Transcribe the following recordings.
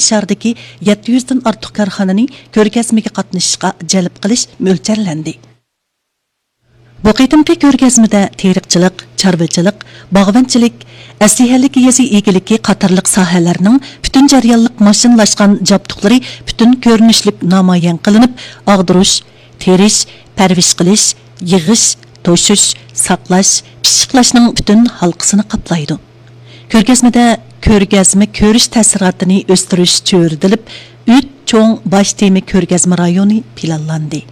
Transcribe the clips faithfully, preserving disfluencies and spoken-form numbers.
شەھەردىكى يەتتە يۈزدىن ئارتۇق كارخانىنى كۆرگەزمىگە قاتنىشىشقا جەلپ قىلىش مۆلچەرلەندى. بۇ قېتىمقى كۆرگەزمىدە تېرىقچىلىق، چارۋىچىلىق، باغۋەنچىلىك، ئەسلىھەلىك يېزا ئىگىلىكى قاتارلىق ساھەلەرنىڭ پۈتۈن جەريانلىق ماشىنىلاشقان جابدۇقلىرى پۈتۈن كۆرۈنۈشلۈك نامايان قىلىنىپ، ئاغدۇرۇش، تېرىش، پەرۋىش قىلىش، يىغىش، توشۇش، ساقلاش، پىششىقلاشنىڭ پۈتۈن ھالقىسىنى قاپلايدۇ. كۆرگەزمىدە كۆرگەزمە كۆرۈش تەسىراتىنى ئۆستۈرۈش چۆرىدىلىپ، ئۈچ چوڭ باش تېما كۆرگەزمە رايونى پىلانلاندى.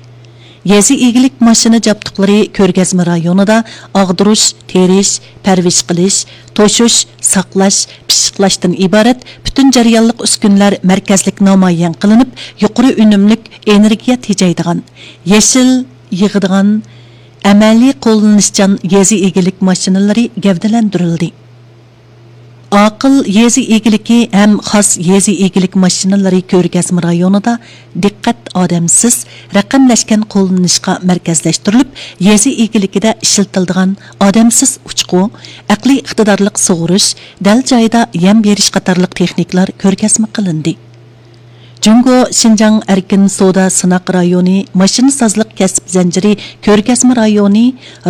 يېزا ئىگىلىك ماشىنا جابدۇقلىرى كۆرگەزمە رايونىدا ئاغدۇرۇش، تېرىش، پەرۋىش قىلىش، توشۇش، ساقلاش، پىششىقلاشتىن ئىبارەت پۈتۈن جەريانلىق ئۈسكۈنىلەر مەركەزلىك نامايان قىلىنىپ، يۇقىرى ئۈنۈملۈك ئېنېرگىيە تېجەيدىغان، يېشىل يىغىدىغان، ئەمەلىي قوللىنىشچان يېزا ئىگىلىك ماشىنىلىرى گەۋدىلەندۈرۈلدى. ئاقىل يېزا ئىگىلىكى ھەم خاس يېزا ئىگىلىك ماشىنىلىرى كۆرگەزمە رايونىدا دىققەت ئادەمسىز رەقەملەشكەن قوللىنىشقا مەركەزلەشتۈرۈلۈپ، يېزا ئىگىلىكىدە ئىشلىتىلىدىغان ئادەمسىز ئۇچقۇ، ئەقلىي ئىقتىدارلىق سۇغۇرۇش، دەل جايىدا يەم بېرىش قاتارلىق تېخنىكىلار كۆرگەزمە قىلىندى. جۇڭگو شىنجاڭ ئەركىن سودا سىناق رايونى ماشىنىسازلىق كەسىپ زەنجىرى كۆرگەزمە رايونى،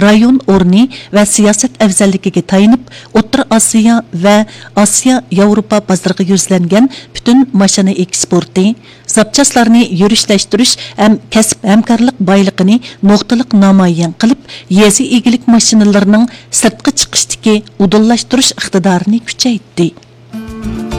رايون ئورنى ۋە سىياسەت ئەۋزەللىكىگە تايىنىپ، ئوتتۇرا ئاسىيا ۋە ئاسىيا ياۋروپا بازىرىغا يۈزلەنگەن پۈتۈن ماشىنا ئېكسپورتى، زاپچاسلارنى يۈرۈشلەشتۈرۈش ھەم كەسىپ ھەمكارلىق بايلىقىنى نۇقتىلىق نامايان قىلىپ، يېزا ئىگىلىك ماشىنىلىرىنىڭ سىرتقا چىقىشتىكى ئۇدۇللاشتۇرۇش ئىقتىدارىنى كۈچەيتتى.